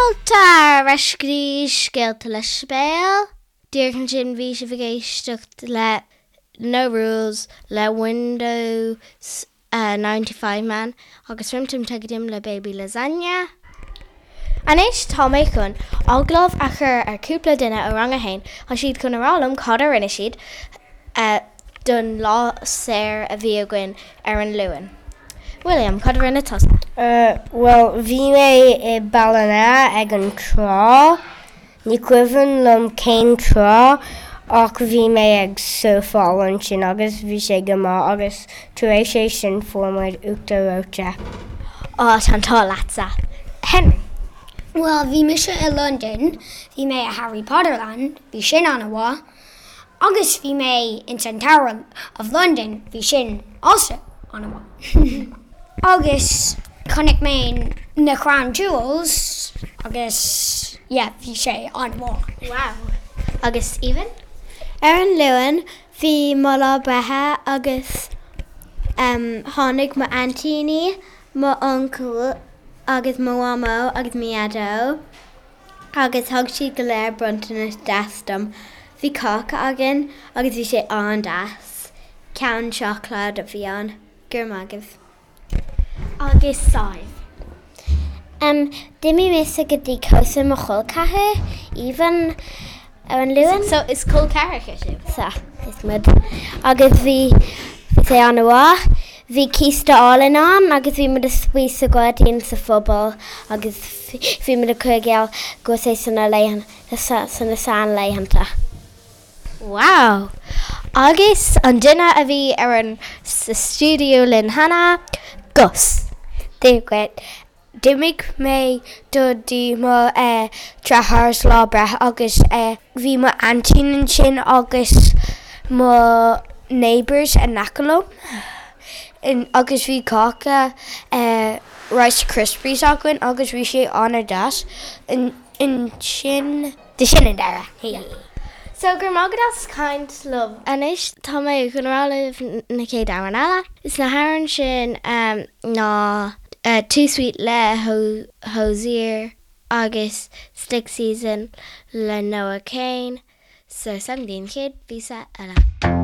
Fáilte ar ais go dtí Scéalta le Sibéal. Díreach ansin bhí sibh ag éisteacht le No Rules le Windows 95 Man agus Rim Tim Tagidim le Baby Lasagna. Anois tá mé chun agallamh a chur ar cúpla duine ó rang a haon. Tá siad chun a rá liom cad a rinne siad don lá saor a bhí againn ar an Luan. William, cad a rinne tusa? Bhuel, bhí mé i Ballina ag an trá. Ní cuimhin liom cén trá ach bhí mé ag surfáil ansin agus bhí sé go maith agus tar éis é sin fuair muid uachtar reoite. Á, tá an t-ádh leatsa. Henry. Bhuel, bhí mise i Londain, bhí mé i Harry Potter Land, bhí sin an-mhaith. Agus bhí mé ins an Tower of London, bhí sin also an-mhaith. Agus chonaic mé na Crown Jewels agus yeah, bhí sé an-mhaith. Wow! Agus Aoibhinn? Ar an Luan, bhí mo lá breithe agus tháinig mo aintíní, mo uncail agus mo mhamó agus mo dhaideo. agus thug siad go léir bronntanas deas dom. Bhí cáca againn agus bhí sé an-deas. Ceann seacláid a bhí ann. Go raibh maith agaibh. Agus Sadhbh. Em, d'imigh mise go dtí cóisir mo chol ceathar, Aoibhinn, ar an Luan. So is col ceathracha sibh? Sea, is muid. Agus bhí sé an-mhaith. Bhí císte álainn ann agus bhí muid ag spraoi sa ghairdín sa phuball agus bhí muid ag cur i gcéill go raibh sé sna laethanta, sna seanlaethanta. Wow! Agus an duine a bhí ar an sa stiúideo linn cheana, Gus. Dia dhuit. D'imigh mé do dtí mo deartháir's lá breithe agus bhí mo aintín ansin agus mo neighbours in aice liom agus bhí cáca Rice Krispies againn agus bhí sé an-deas ansin. Sin an deireadh. So go raibh maith agat as caint liom. Anois tá mé chun rá libh na chéad amhrán eile. Is na hamhráin sin ná Too Sweet le Hozier agus Stick Season le Noah Kahan. So slán go dtí an chéad phíosa eile.